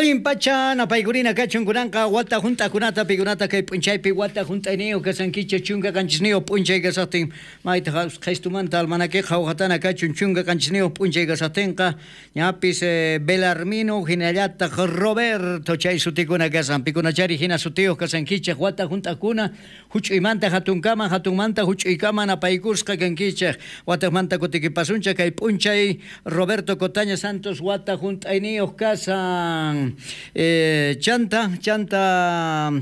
Allin pacha napaykurina kachun kunanqa wata hunt'akunata pikunata kay p'unchaypi wata hunt'ayniyuq kasankichik 17 p'unchay kasaqtin maytaq qhistumanta almanakiqa hawqatana kachun 17 p'unchay kasaqtinqa ñapis Belarmino hinallataq Roberto chay sutikuna kasan pikunachari hina sutiyuq kasankichik wata hunt'akuna huch'uymanta hatunkama hatunmanta huch'uykama napaykusqa kankichik wataqmanta kutikipasunchik kay p'unchay Roberto Cotaña Santos wata hunt'ayniyuq kasan chanta chanta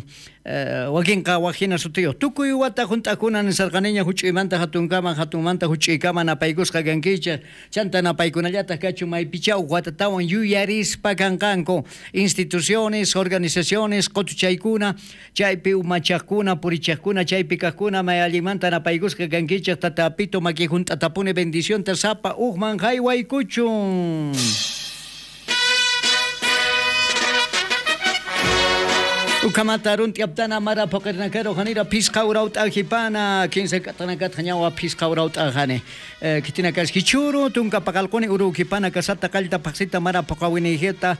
wakinqa wak hina sutiyuq tukuy wata hunt'akuna nisarqaniña huch'uymanta hatunkama hatunmanta huch'uykama napaykusqa kankichik chanta napaykunallataq kachun maypicha uj watatawan yuyarispa kanqanku instituciones organizaciones qutuchaykuna chaypi umachaqkuna purichaqkuna chaypi kaqkuna may allinmanta napaykusqa kankichik tata Apito maki hunt'atapuni bendicionta sapa ujman haywaykuchun. Ukamata runt'iyaptana mara phuqirnakaro hanira phisqa urawt'ajipana kinsa k'atanakatqa ñawa phisqa urawt'ajani kitina kas hichuru tunka paqalquni urukipana kasata qallta phaqsita mara phuqawinijita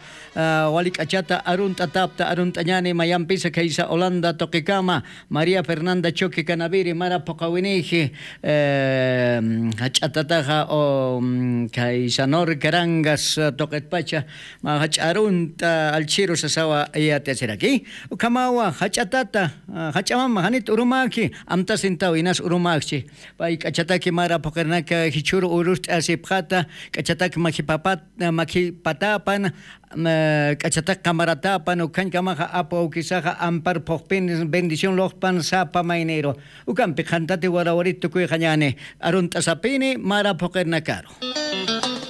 walik'achata arunt'a tapta arunt'añani mayampisa kaysa Holanda tuqikama María Fernanda Choque Canaviri mara phuqawiniji hach'atataqa kaysa Nor Carangas tuqitpacha ma hach'arunta alchiru sasawa yatachiraki ukamawa hach'atata hach'amama hanit urumaki amtasintaw inas urumakchi pay k'achataki mara phuqirnaka hichuru urust'a sipqata k'achataki makipapat makipatapan k'achataki qamaratapan ukhankamaqa apu awkisaqa ampar phuqpin bendición loqpan sapa maynero ukampi qhantati warawarita tukuy qañani arunt'asapini mara phuqirnakaro.